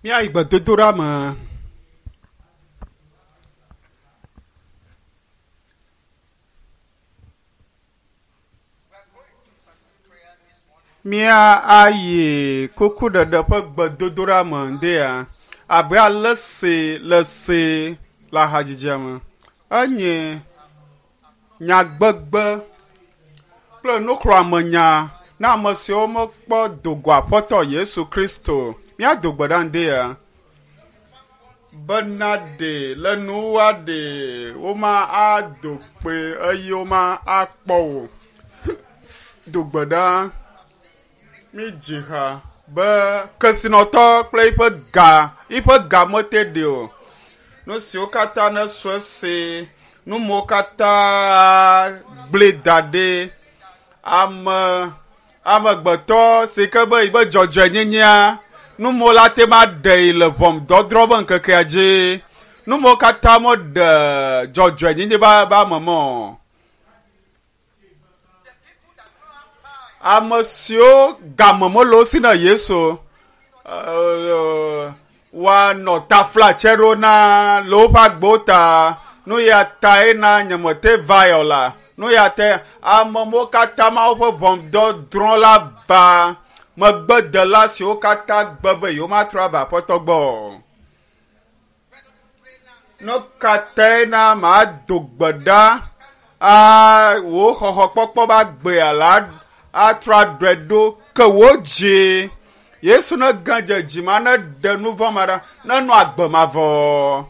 Míayi gbedodoɖa me. Mía ayi kukuɖeɖe ƒe gbedodoɖa me ŋdea abe ale si le se le ahadzidzia me. Enye nyagbegbe kple nuxlɔ̃amenya na ame siwo mekpɔ do go Aƒetɔ Yesu Kristo. Míado gbe ɖa ŋdea bena ɖe le nuwua ɖe woma ado kpe eye woma akpɔ wò. Do gbe ɖa. Mídzi ha be kesinɔtɔ kple eƒe ga, eƒe ga mete ɖi o. Nu siwo katã nesu esi, nu mawo katã gblẽ da ɖi. Ame amegbetɔ si ke be yibe dzɔdzɔenyenyea, nu mawo la te ma ɖee le ʋɔnudɔdrɔ̃ be ŋkekea dzi. Nu mawo katã meɖe dzɔdzɔenyenye be be ame me o. Ame siwo game mele wo si na Yesu woanɔ taflatse ɖo na le woƒe agbewo ta. Nu ya tae na nyemete va o la. Nu ya tae ame mawo katã Mawu ƒe ʋɔnudɔdrɔ̃ la va megbedela siwo katã gbe be yewomatrɔ ava Aƒetɔ gbɔ o. Nu ka tae na mado gbe ɖa a wò xɔxɔkpɔkpɔ be agbea la atrɔ aɖɔe ɖo ke wò dzi? Yesu ne gã dze dzi ma ne ɖe nu vɔ̃ ma ɖa ne nɔ agbe mavɔ.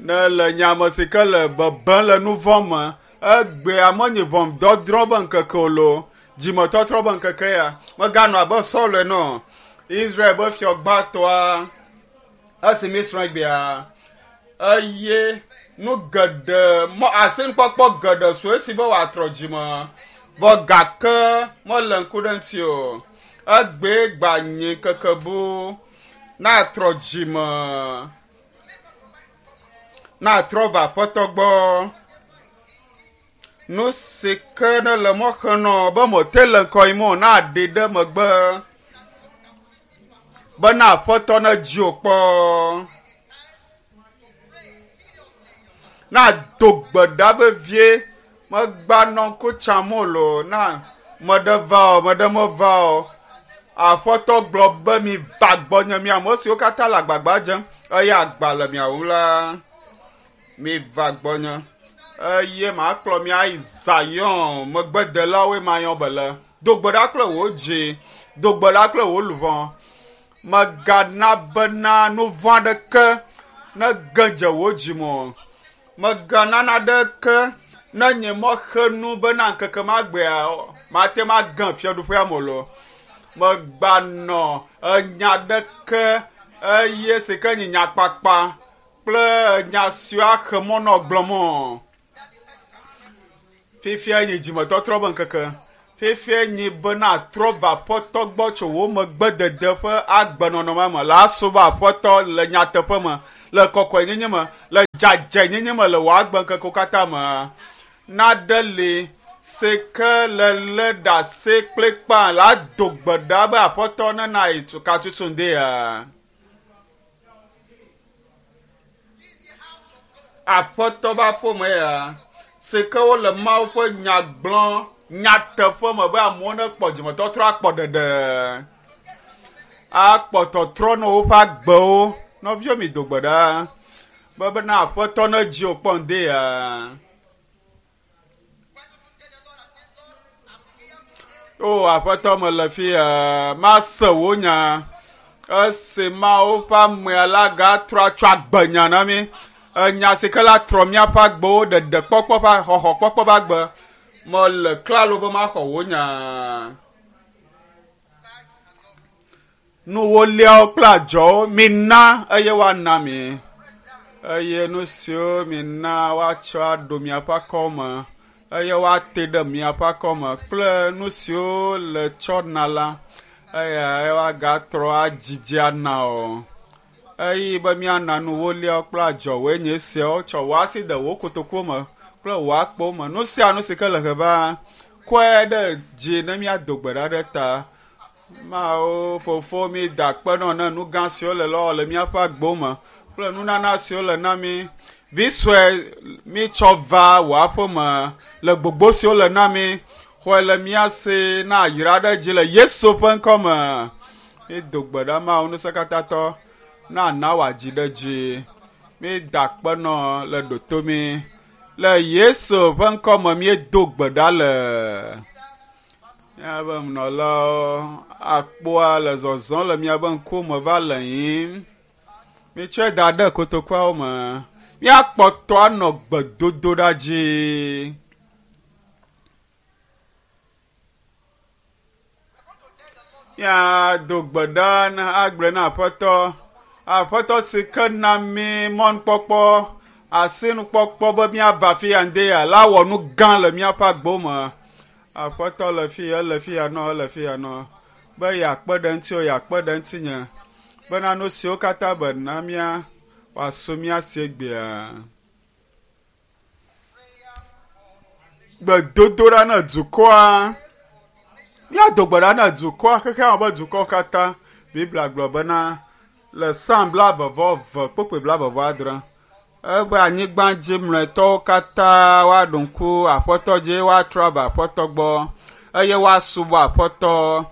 Ne le nye ame si ke le bebem le nu vɔ̃ me egbea menyi ʋɔnudɔdrɔ̃ be ŋkeke o loo dzimetɔtrɔ be ŋkeke ya meganɔ abe Saul ene o. Israel be fiɔ gbãtɔa esi míesrɔ̃ egbea eye nu geɖe mɔ asinukpɔkpɔ geɖe su esi be wòatrɔ dzime vɔ gake mele ŋku ɖe ŋuti o. Egbee gba nyi ŋkeke bu natrɔ dzime natrɔ va Aƒetɔ gbɔ. Nu si ke ne le mɔ xem nɔ be mete le ŋkɔ yim o naɖi ɖe megbe bena Aƒetɔ nedzi wò kpɔ. Nado gbe ɖa vevie megbanɔ ŋku tsam o loo na meɖe va o meɖe meva o. Aƒetɔ gblɔ be mi va gbɔnye mi ame siwo katã le agbagba dzem eye agba le mia ŋu la. Miva gbɔnye, eye makplɔ mi ayi Zion megbedelawoe mayɔ be le. Do gbe ɖa kple wò dzi, do gbe ɖa kple wò luʋɔ. Mègana bena nu vɔ̃ aɖeke nege dze wò dzi me o. Mègana naɖeke nenye mɔxenu bena ŋkeke magbea mate ŋu age fiaɖuƒea me o loo. Mèganɔ enya aɖeke eye si ke nye nyakpakpa kple nya siwo axe mɔ nɔ gblɔm o. Fifia nye dzimetɔtrɔ be ŋkeke. Fifia nye bena trɔ va Aƒetɔ gbɔ tso wò megbedede ƒe agbenɔnɔ ma me. La subɔ Aƒetɔ le nyateƒe me, le kɔkɔenyenye me, le dzadzɛnyenye me le wò agbeŋkekewo katã me. Naɖe li si ke le lé ɖase kplikpaa la do gbe ɖa be Aƒetɔ nena yi katutu ŋdea. Aƒetɔ ƒe aƒeme ya si ke wole Mawu ƒe nya gblɔm nyateƒe me be amewo nekpɔ dzimetɔtrɔ akpɔ ɖeɖe, akpɔ tɔtrɔ na woƒe agbewo. Nɔviwo mi do gbe ɖa be bena Aƒetɔ nedzi wò kpɔ ŋdi ya. O Aƒetɔ, mele fi ya, mase wò nya. Esi Mawu ƒe amea la gatrɔ atsɔ agbenya na mí. Enya si ke la trɔ míaƒe agbewo ɖeɖe kpɔkpɔ ƒe xɔxɔ kpɔkpɔ ƒe agbe. Mele klalo be maxɔ wò nya. Nuwoliawo kple adzɔwo mina eye woana mi. Eye nu siwo mina woatsɔ aɖo miaƒe akɔwo me eye woate ɖe miaƒe akɔ me kple nu siwo le tsɔ na la, eya woagatrɔ adzidzi ana o. Eye be míana nuwoliawo kple adzɔwoe nye esiawo, tsɔ wò asi de wò kotokuwo me kple wò akpowo me. Nu sia nu si ke le he va, kɔe ɖe dzi ne míado gbe ɖa ɖe ta. Mawu fofo mi da akpe nɔ ne nu gã siwo le lɔ le míaƒe agbo me kple nunana siwo le na mi. Vi sue mi tsɔ va wò aƒe me le gbogbo siwo le na mi. Xɔe le mía si na yra ɖe dzi le Yesu ƒe ŋkɔ me. Mi do gbe ɖa Mawu ŋusẽkatãtɔ na na wòadzi ɖe dzi. Mi da akpe nɔ le ɖoto mi. Le Yesu ƒe ŋkɔ me míedo gbe ɖa le. Míaƒe nunɔlawo akpoa le zɔzɔm le miaƒe ŋkume va le yiyim. Mitsɔe da ɖe kotokuawo me. Míakpɔtɔ anɔ gbedodoɖa dzi. Míado gbe ɖa na agblɔe na Aƒetɔ. Aƒetɔ si ke na mí mɔnukpɔkpɔ, asinukpɔkpɔ be míava afi ya ŋde ya la wɔ nu gã le míaƒe agbo me. Aƒetɔ le fi ya, ele fi ya nɔ, ele fi ya nɔ. Be yeakpe ɖe ŋutiwò, yeakpe ɖe ŋutinye. Bena nu siwo katã be na mía wòasu mía si egbea. Gbedodoɖa na dukɔa. Míado gbe ɖa na dukɔa, xexea me ƒe dukɔ katã. Biblia gblɔ bena le Psalm blaeve-vɔ-eve kpukpui blaeve-vɔ-adre ebe anyigba dzi mlɔetɔwo katã woaɖo ŋku Aƒetɔ dzi, woatrɔ ava Aƒetɔ gbɔ eye woasubɔ Aƒetɔ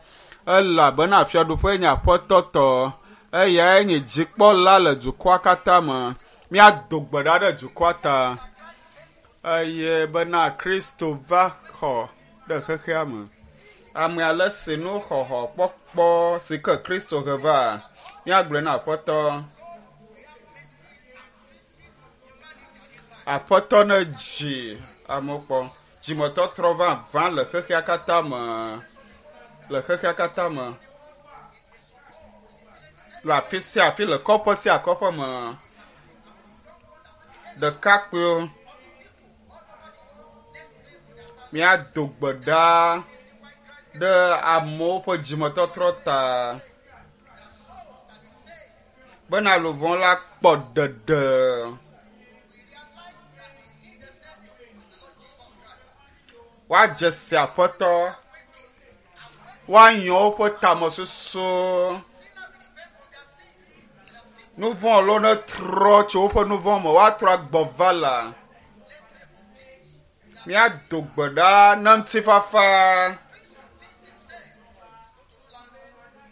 elabena fiaɖuƒe nye Aƒetɔ tɔ. Eyae nye dzikpɔla le dukɔa katã me. Míado gbe ɖa ɖe dukɔa ta eye bena Kristo va xɔ ɖe xexea me. Ame ale si nu xɔxɔ kpɔkpɔ si ke Kristo he va, míagblɔe na Aƒetɔ. Aƒetɔ ne dzi amewo kpɔ. Dzimetɔtrɔ vavã le xexea katã me. Le xexea katã me. Le afi sia afi le kɔƒe sia kɔƒe me. Ɖekakpuiwo míado gbe ɖa ɖe amewo ƒe dzimetɔtrɔ ta bena luʋɔ la kpɔ ɖeɖe. Woadze si Aƒetɔ. Woanyɔ woƒe tamesusu. Nu vɔ̃ lo netrɔ tso woƒe nu vɔ̃ me. Woatrɔ agbɔ va la. Míado gbe ɖa na ŋutifafa.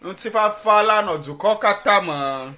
Ŋutifafa la nɔ dukɔ katã me.